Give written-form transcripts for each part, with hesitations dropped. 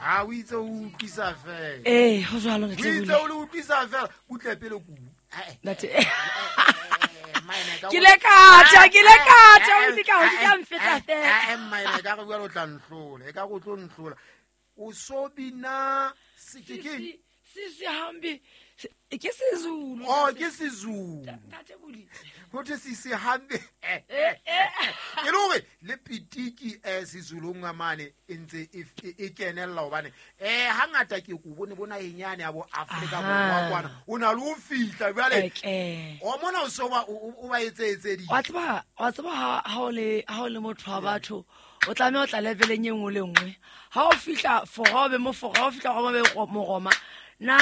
A o itse o utlwisa fela. Ee, go jalo. O itse o le utlwisa fela butle pele ku. Ntate, ke le ka tjha, ke le ka tjha, o di ka o di ka mfeta fela. Mmaene, ka re bua, o tla nhlola, e ka go tlo nhlola, o so bina ke ke Sisi hambi ke Sezulu. Oh, ke Sezulu. Ntate Bodi. Ho thwe sisi hambe, e le hore le pitiki Sezulung a mane e ntse e kenella, hobane hangata ke ko bone bona enyane ya bo Afrika Borwa kwana, o na le ho fihla jwale Eke. O mona o so ba o ba etsetseditse. Wa tseba ha o le motho wa batho, o tlameha o tla leveleng e nngwe le nngwe. Ha o fihla Fora, o be Mofora, ha o fihla Roma, o be Moroma. Nna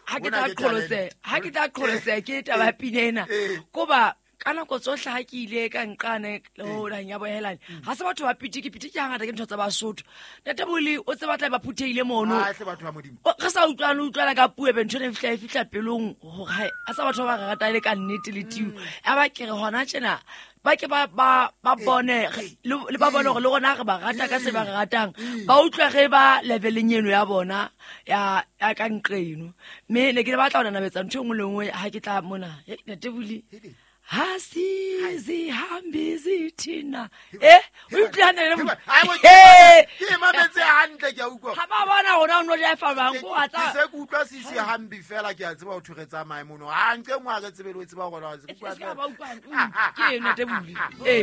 ha ke Hona tla ke qholotseha, talent. ha ke tla qholotseha ke taba ya pina ena, koba ka nako tsohle ha ke ile ka nqane le ho naheng ya bohelane, ha se batho ba pitiki. Pitiki hangata ke ntho tsa Basotho. Ntate Boli, o tseba tla ba phuthehile mono. Ahle, batho ba Modimo. Re sa utlwane, utlwana ka puo, ebe ntho ena e fihla pelong gore hai, a sa batho ba ba re rata e le ka nnete le tio. A ba ke re hona tjena ba ke ba bone le ba bone gore le rona re ba rata ka se ba re ratang, ba utlwe ge ba leveleng eno ya bona ya ka nqeno. Mme ne ke le batla ho nanabetsa ntho e nngwe le nngwe ha ke tla mona. Hei, ntate Boli, ha sizihambi zithina, o utlwe hantle le Boli? Ai, bo- Hey! Ke e mametse hantle, ke a utlwa. Ha ba bona rona o no jaifa bang ko wa Ke tsa se ke utlwa sisi hambi fela, ke a tseba ho thwe re tsamaye mono, ha nke nngwe a re tsebe le ho tseba gore E se ka ba utlwang. Ke eno, ntate Boli, ee.